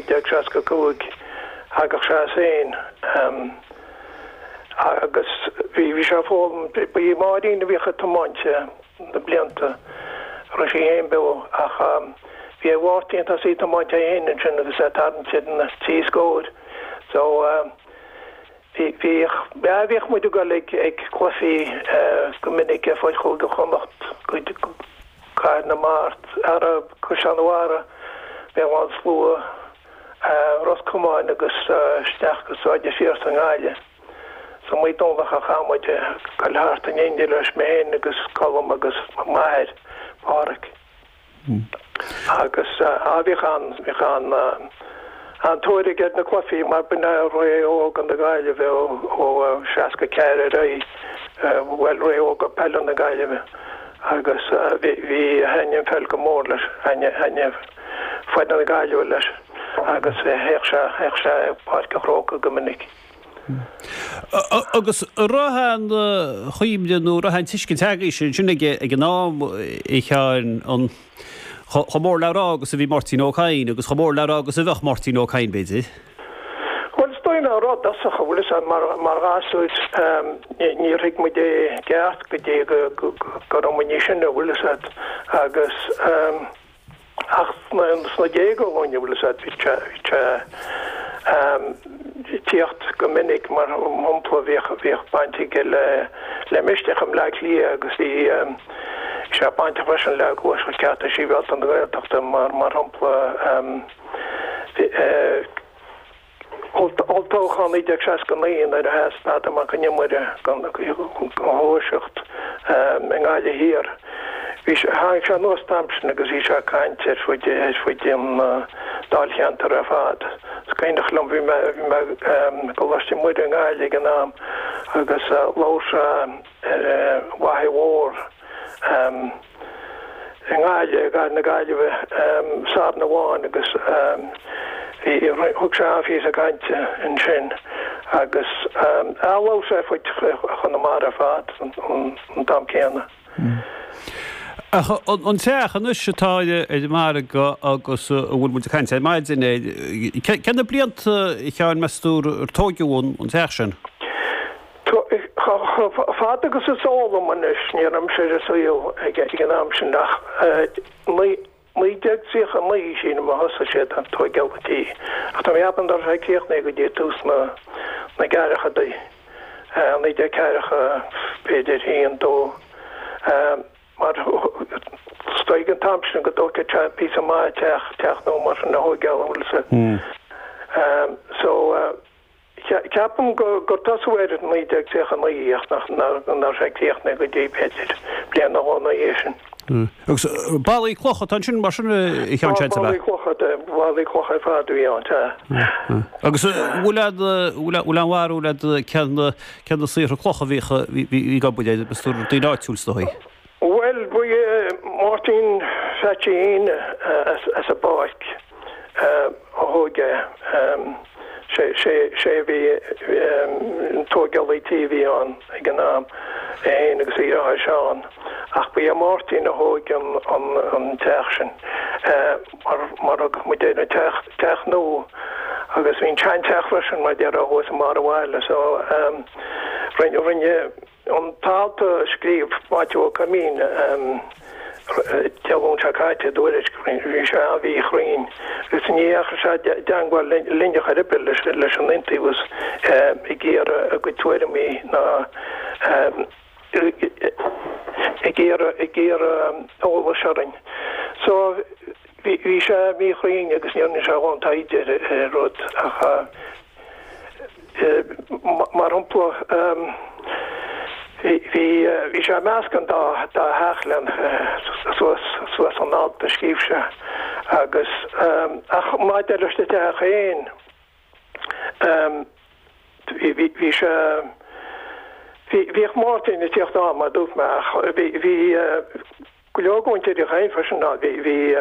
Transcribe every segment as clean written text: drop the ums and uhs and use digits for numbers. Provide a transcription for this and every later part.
1965 thagadh sé as féin agus bhí bhí sé ag foghlaim, ba í Máirín a bhíodh ag tiomáint na blianta a raibh sí féin beo ach bhí ar Mháirtín tosaí ag tiomáint é féin ansin agus é ag tarraingt ar na trí scór so bhí bhíodh bhíodh muid ag dul ag ag cluichí go minic ar fud Chúige Chonnacht go Cathair na Mart, ar Caisleán an Bharraigh, Béal Átha an Slua, Ros Comáin agus isteach go Sráid an Phiarsaigh i nGaillimh. Is iomaí Domhnach a chaith muid ag dul thart in éindí leis, mé féin agus Colm agus m'athair, Pádhraic. Agus á bhíodh an, bhíodh an, an-tóir aige ar na cluichí mar b'in é ré órga na Gaillimhe ó 64 ar aghaidh, bhuel ré órga peile na Gaillimhe agus bhí, bhí, thaitnigh an pheil go mór leis, thaitnigh, thaitnigh foireann na Gaillimhe leis agus théadh sé, théadh sé ag Páirc an Chrócaigh go minic. Agus an raibh aon chuimhne nó an raibh aon tuiscint agaibhse ansin ag an am, a Sheáin, an chomh mór le rá agus a bhí Máirtín Ó Cadhain agus chomh mór le rá agus a bheadh Máirtín Ó Cadhain, b'fhéidir? Bhuel, is dóigh nach raibh i dtosach, an bhfuil fhios a'd, mar ghasúir, níor thuig muid é i gceart go dtí go raibh muid níos sine, an bhfuil fhios a'd, agus. Ach sna déaga dhúinn, an bhfuil fhios a'd, bhí sé, bhí sé ag tíocht go minic, mar shampla, bhíodh, bhíodh baint aige le, le Misneach i mBleá Cliath agus bhí sé bainteach freisin le Gluaiseacht Cearta Sibhialta na Gaeltachta, mar, mar shampla, bhí, Olltoghchán 1969 nuair a sheas Peadar Mac an Iomaire don Ghluaiseacht i nGaillimh Thiar. Bhí sé, tháinig sé anuas an t-am sin agus bhí sé ag caint ar fuid, ar fuid an dáilcheantair ar fad. Is cuimhneach liom, bhí mé, bhí mé i gColáiste Muire i nGaillimh ag an am agus labhair sé ar an bhFaiche Mhór, i nGaillimh, i gcathair na Gaillimhe, Satharn amháin agus bhí, thug sé an-phíosa cainte ansin agus labhair sé ar fud Chonamara ar fad an t-am céanna. Ach an teach anois atá ar an margadh agus a bhfuil muid ag caint air ar maidin, cé na blianta, a Sheáin, meas tú, ar tóigeadh an teach sin? Chomh fada agus is eol dom anois, ní raibh mise ar an saol ag an am sin ach 1939 sílim a thosaigh siad ag tóigeáil an tí. Ach tá mé ag ceapadh nach raibh sé críochnaithe go dtí tús na gceathrachaidí, 1940 b'fhéidir, 1, 2, mar is dóigh ag an t-am sin go dtógfadh sé píosa maith teach, teach nua mar sin a thóigeáil, an bhfuil fhios a'd. So. Ceapaim gur tosaíodh air in 1939 ach nach raibh sé críochnaithe go dtí, b'fhéidir, bliain nó dhó ina dhiaidh sin. Agus ballaí cloch atá ansin mar sin, a Sheáin, seans, ab ea? Ballaí cloch, ballaí cloch ar fad a bhí ann, sea. Agus bhfuil aon, bhfuil aon bharúil agat cé na saortha cloch a bhíodh, bhí ag obair air, meas tú daoine áitiúil is dóigh? Bhuel, ba é Máirtín Pheaitsí Aoine as an bPáirc a thóg é. Sé a bhí an tóigeálaí tí a bhí ann ag an am, é féin agus a dheartháir Seán. Ach ba é Máirtín a thóg an teach sin, mar a thugadh muid air, an teach nua. Agus bhí an seanteach freisin, mar a déarfá, thuas i mbarr an bhaile. So rinne. An t-alt a scríobh Maitiú Ó Coimín Dé Luain seo caite i dTuairisc, bhí sé an-mhíchruinn agus ní dheachaigh sé i dteangmháil linn chor ar bith leis an Iontaobhas ag iarraidh a gcuid tuairimí ná ag iarraidh ag iarraidh eolais orainn. So bhí sé míchruinn agus ní rinne sé a dhóthain taighde ar an rud ach Mar shampla, bhí sé ag meascadh an dá theach len suas suas an alt a scríobh sé agus ach maidir leis an teach féin bhí sé bhíodh Máirtín ag tíocht ann mar a dúirt mé ach bhí bhí. Go leor de mhuintir Uí Chadhain freisin ann. Bhí, bhí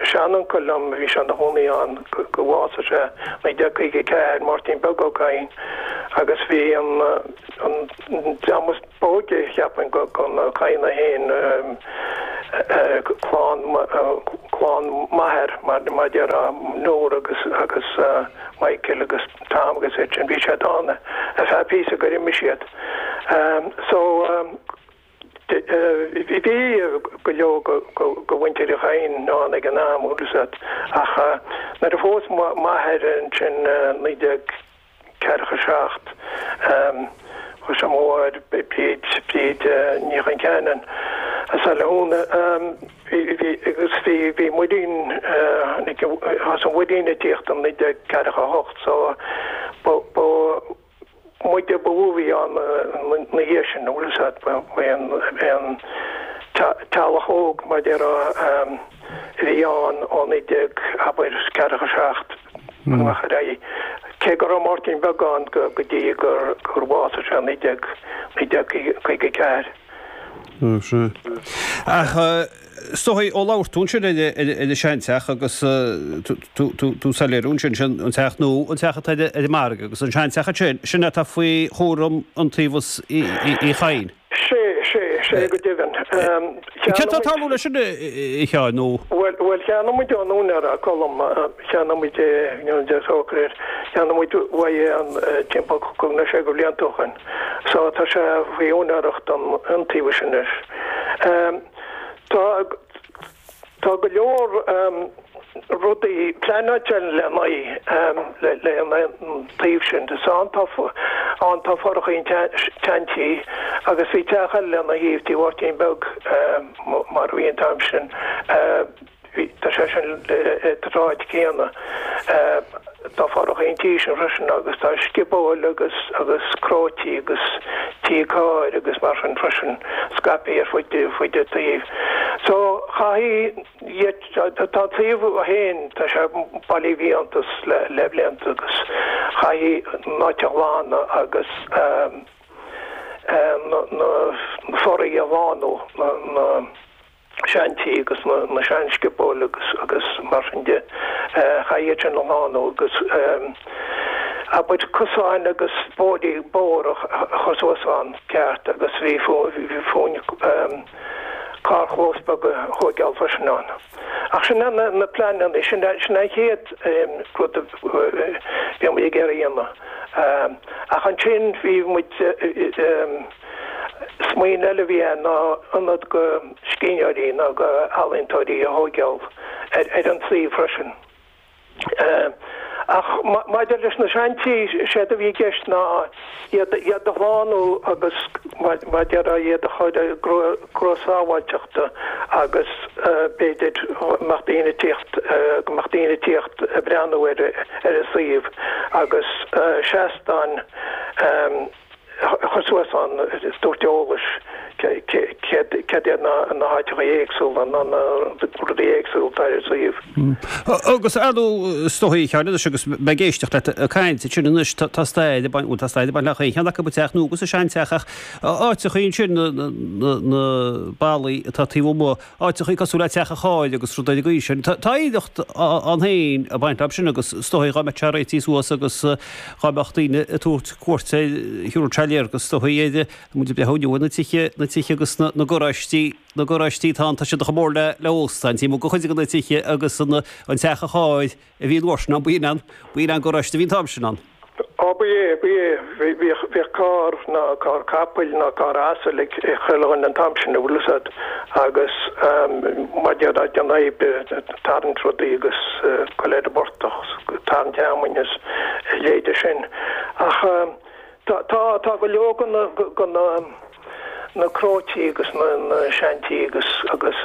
seanuncail liom, bhí sé ina chónaí ann go bhásaigh sé 1954, Máirtín Beag Ó Cadhain, agus bhí an, an dream is b'óige, cheapfainn, de na Cadhnaigh féin, clann, clann m'athar, mar a déarfá, Nóra agus, agus Michael agus Tom agus iad sin, bhí siad ann ar feadh píosa gur imigh siad. So. Bhí go leor de mhuintir Uí Chadhain ann ag an am, bhfuil fhios agat, ach nuair a phós m'athair ansin 1947, phós sé mo mháthair, Bríd, Bríd Ní Chonceanainn as Baile Húna, agus bhí, bhí muirín, thosaigh an muirín ag tíocht in 1948 so ba, ba, muide ba mhó a bhí ann ina dhiaidh sin, bhfuil fhios agat, ba é an teaghlach óg, mar a déarfá, a bhí ann ó 19, abair, 47 amach ar aghaidh. Cé go raibh Máirtín Beag ann go dtí gur bhásaigh sé i 1954. Sea. Ach is dóigh, ó labhair tú ansin ar an seanteach agus tú soiléiriú ansin, sin an teach nua, an teach atá ar an margadh agus an seanteach ansin, sin atá faoi chúram Iontaobhas Uí Chadhain. Sea, sea, sea go deimhin. Céard tá ag tarlú leis sin, a Sheáin, nó? Bhuel, bhuel, cheannaigh muid ón úinéir, Colm, cheannaigh muid é, nó de sócair, cheannaigh muid uaidh é an timpeall cúig nó sé de bhlianta ó shin. So tá sé faoi úinéireacht an Iontaobhais anois. Tá tá go leor rudaí pleanáilte le haghaidh le an taobh sin. Is ann tá ann tá fothracha an tseantí agus bhí teach eile lena thaobh, Tí Mháirtín Beag mar a bhí an t-am sin. Bhí, tá sé sin sa tsráid chéanna. Tá fothracha an tí sin freisin agus tá sciobóil agus agus cróití agus tí cairr agus mar sin freisin scaipthe ar fud fud an tsuímh. So chaithfidh tá an suíomh féin, tá sé bailithe fiántas le le blianta agus chaithfidh an áit a ghlanadh agus na na fothraigh a shlánú, na na seantí agus na seansciobóil agus agus mar sin de. Chaithfidh iad sin a shlánú agus abair cosáin agus bóithrí bóthar a chur suas ann ceart agus bhí fúinn carrchlós beag a thóigeáil freisin ann. Ach sin é na pleananna, sin é sin é an chéad rud a bhí muid ag iarraidh a dhéanamh. Ach ansin bhí muid Smaoineamh eile a bhí ann ná ionad go scríbhneoirí nó go ealaíontóirí a thóigeáil ar an suíomh freisin. Ach maidir leis na seantí, séard a bhí i gceist ná iad a shlánú agus mar a déarfá iad a chur i gcruth sábháilteachta agus b'fhéidir go mbeadh daoine ag tíocht, go mbeadh daoine ag tíocht ag breathnú ar an suíomh agus seastáin a chur suas ann ag tabhairt eolais céard iad na háiteacha éagsúla nó na rudaí éagsúla atá ar an suíomh. Agus ar ndóigh, is dóigh, a Sheáin, anois agus mé ag éisteacht leat ag caint ansin anois, tá stair ag baint, bhuel tá stair ag baint le chaon cheann acu, an teach nua agus an seanteach ach áiteachaí ansin, na ballaí atá taobh amuigh, áiteachaí cosúil le teach an chairr agus rudaí ar an gcaoi sin. Tá oidhreacht ann féin ag baint leo sin agus is dóigh dá mbeadh sé réitithe suas agus dá mbeadh daoine ag tabhairt cuairte, thiúrfadh sé léargas is dóigh ar, muid ag breathnú inniu ar na tithe, na tithe agus na garáistí, na garáistí atá ann, tá siad chomh mór le le óstáin, taobh amuigh de chuid de na tithe agus an teach an chairr a bhí an uair sin ann, b'in an, b'in an garáiste a bhí an t-am sin ann. Ó, ba é, ba é. Bhíodh, bhíodh carr ná carr capaill ná carr asail ag chuile dhuine an t-am sin, an bhfuil fhios agat, agus mar a déarfá ag déanamh oibre, tarraingt rudaí agus goil ar an bportach, tarraingt fheamainn is a leithéide sin. Ach tá, tá, tá go leor de na, de na, na cróití agus na, na seantí agus, agus.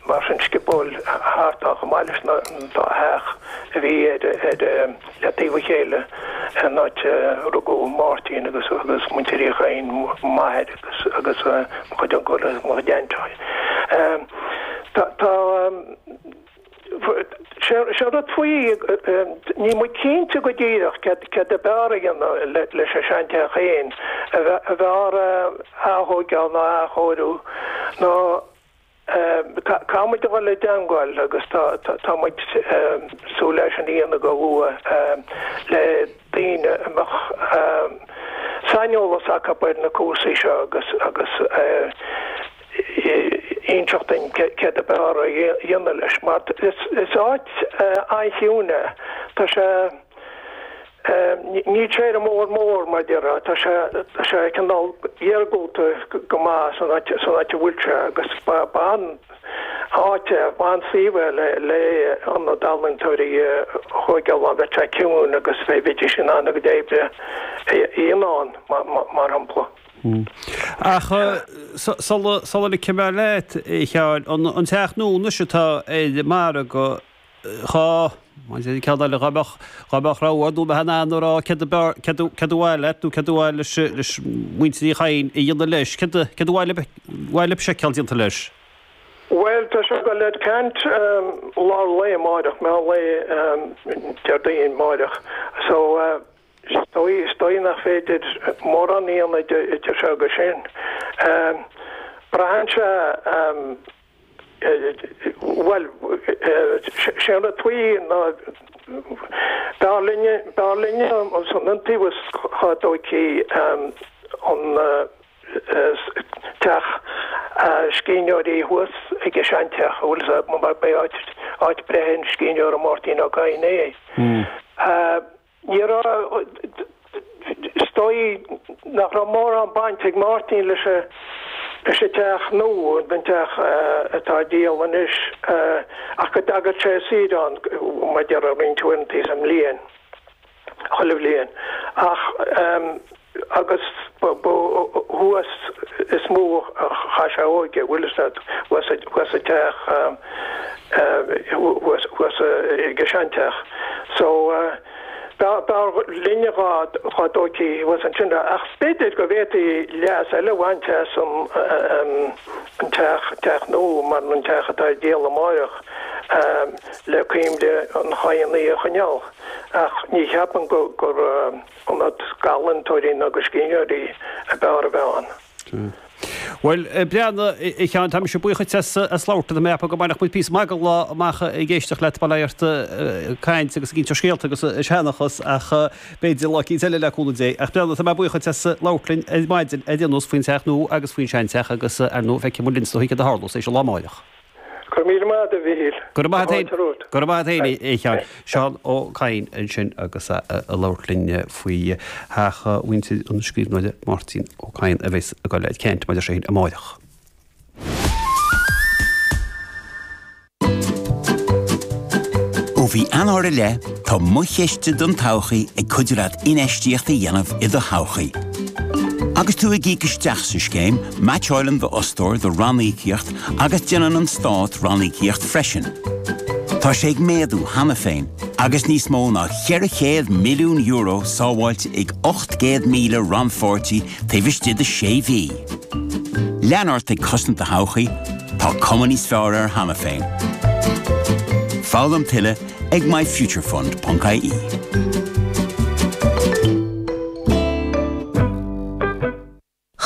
Mar sin sciobóil thart ann chomh maith leis na dá theach a bhí ar ar le taobh a chéile an áit a rugadh Máirtín agus agus muintir Uí Chadhain, m'athair agus agus mo chuid uncail agus mo chuid ainteacha. Tá tá sé sé rud faoi níl muid cinnte go díreach céard céard ab fhearr a dhéanamh leis an seanteach féin, ab fhearr a aththóigeáil nó a athchóiriú nó. Caithfidh muid a dhul i dteangmháil agus tá muid súil leis sin a dhéanamh go luath le daoine a mbeadh saineolas acu ar na cúrsaí seo agus agus inseacht dúinn céard ab fhearr a dhéanamh leis mar is áit an-chiúin é. Tá sé. Níl sé ar an mbóthar mór, mar a déarfá. Tá sé, tá sé cineál iargúlta go maith san áit, san áit a bhfuil sé agus ba, ba an-áit é, ba an-suíomh é le, le ionad ealaíontóirí a thóigeáil ann. Bheadh sé ciúin agus bheidís in ann a gcuid oibre a dhéanamh ann, mar shampla. Ach sula, sula ligfidh mé leat, a Sheáin, an, an teach nua anois atá ar an margadh, Dhá, maidir le ceann eile, dhá mbeadh, dhá mbeadh rogha a'd nó bheith in ann a rá céard ab fhearr, céard a, céard a mhaith leat nó céard a mhaith leis, leis muintir Uí Chadhain a dhéanamh leis, céard a, céard a mhaith libh, mhaith libh seiceáil déanta leis? Bhuel, tá sé ag dul ar ceant lár lae amáireach, meán lae Déardaoin amáireach. So, is dóigh, is dóigh nach féidir mórán a dhéanamh idir seo agus sin. Braitheann sé, Bhuel, sé an rud faoi ná b'fhearr linne, b'fhearr linne san Iontaobhas dhá dtóigfí an teach scríbhneoirí thuas ag an seanteach, a bhfuil fhios agat, mar b'é áit, áit breithe an scríbhneora Máirtín Ó Cadhain é. Ní raibh, is dóigh nach raibh mórán baint ag Máirtín leis an leis an teach nua, an teach atá á dhíol anois, ach go dtagadh sé ar saoire ann, mar a déarfá, roinnt uaireanta sa mbliain, chuile bhliain. Ach. Agus ba thuas is mó a chaith sé a óige, bhfuil fhios agat, thuas sa teach, thuas ag an seanteach. So, b'fhearr linne dhá dtóigfí thuas ansin é. Ach b'fhéidir go bhféadfaí leas eile a bhaint as an teach, teach nua, mar an teach atá ar díol amáireach, le cuimhne an Chadhanaigh a choinneáil. Ach ní cheapaim gur. Ionad d'ealaíontóirí ná do scríbhneoirí ab fhearr a bheith ann. Bhuel, a Bhreandáin, a Sheáin, tá mise buíoch dhuit as labhairt liom. Tá mé ag ceapadh go mbainfeadh muid píosa maith den lá amach ag éisteacht leat, bail ort ag caint agus ag inse scéalta agus ag seanchas ach b'fhéidir lá eicínt eile le cúnamh Dé. Ach Breandán, tá mé buíoch dhuit as labhairt linn ar maidin ar aon nós faoin teach nua agus faoin seanteach agus ar ndóigh feicfidh muid linn is dóigh céard a tharlós théis an lá amáireach. Go raibh míle maith agat, a Mhichíl. Go raibh maith agat féin. Go raibh maith agat féin, a Sheáin. Seán Ó Cadhain ansin agus é ag labhairt linn faoi theach mhuintir an scríbhneora Máirtín Ó Cadhain a bheas ag dul ar ceant maidir sin amáireach. Ó mhí Eanáir i leith, tá Mo Chiste don Todhchaí ag cuidiú leat infheistíocht a dhéanamh i do thodhchaí. Agus tú ag íoc isteach sa scéim, meaitseáileann d'fhostóir do ranníocaíocht agus déanann an Stát ranníocaíocht freisin. Tá sé ag méadú cheana féin agus níos mó ná €400 milliún sábháilte ag 800,000 rannpháirtí taobh istigh de sé mhí. Lean ort ag cosaint do thodhchaí, tá cuma níos fearr air cheana féin. Foghlaim tuilleadh ag myfuturefund.ie.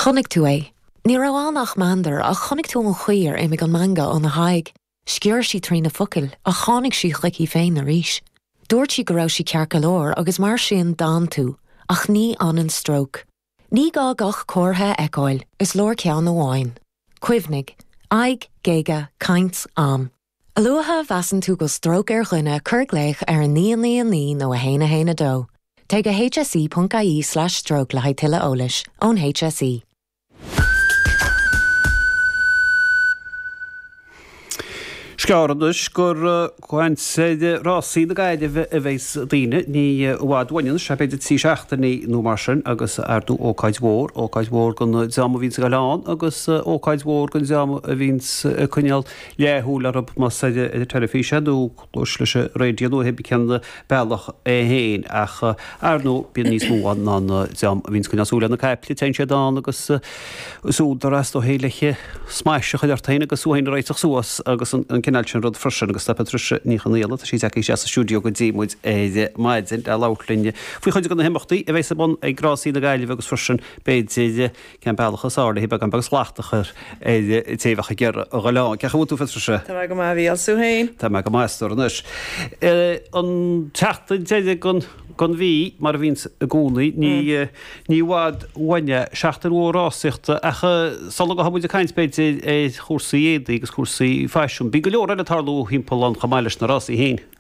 Chonaic tú é. Ní raibh ann ach meandar ach chonaic tú an chaoi ar imigh an meangadh óna haghaidh. Sciorr sí trí na focail ach tháinig sí chuici féin arís. Dúirt sí go raibh sí ceart go leor agus mar sin d'fhan tú, ach ní fhanann stróc. Ní gá gach comhartha a fheiceáil, is leor ceann amháin. Cuimhnigh, aghaidh, géaga, caint, am. A luaithe a mheasann tú go bhfuil stróc ar dhuine, cuir glaoch ar 999 nó 1 1 2. Téigh go hse.ie/stroke le haghaidh tuilleadh eolais ón HSE. Sceár anois gur ag caint ar rásaí na Gaillimhe a bheas daoine, ní i bhfad uainn anois, b'fhéidir 3 seachtainí nó mar sin, agus ar ndóigh ócáid mhór, ócáid mhór don dream a bhíonns ag dul ann agus ócáid mhór don dream a bhíonns ag coinneáil leathshúil orthu más ar an teilifís é nó cluas leis an raidió nó pé cén bealach é féin ach ar ndóigh bíonn níos mó ann ná an dream a bhíonns ag coinneáil súil ar na caiple, téann siad ann agus is údar as dóigh le smais a chur ort féin agus thú féin a réiteach suas agus an. cineál sin rud freisin agus tá Patricia Ní Chonaola, tá sí tagtha isteach sa stiúideo go dtí muid ar maidin le labhairt linn faoi chuid de na himeachtaí a bheas ar bun ag Rásaí na Gaillimhe agus freisin b'fhéidir cén bealach is fearr le beagán beag slacht a chur ar an té a bheadh ag iarraidh a dhul ann. Cén chaoi a bhfuil tú, a Phatricia? Tá mé go maith, a Mhícheáil, 's tú féin? Tá mé go maith, a stór anois. An tseachtain deiridh den mhí, mar a bhíonns i gcónaí, ní ní i bhfad uainn é, seachtain mhór rásaíochta, ach sula ngabhfaidh muid ag caint, b'fhéidir, ar chúrsaí éadaí agus cúrsaí faisin, bíonn go leor eile ag tarlú thimpeall ann chomh maith leis na rásaí féin. Bíonn.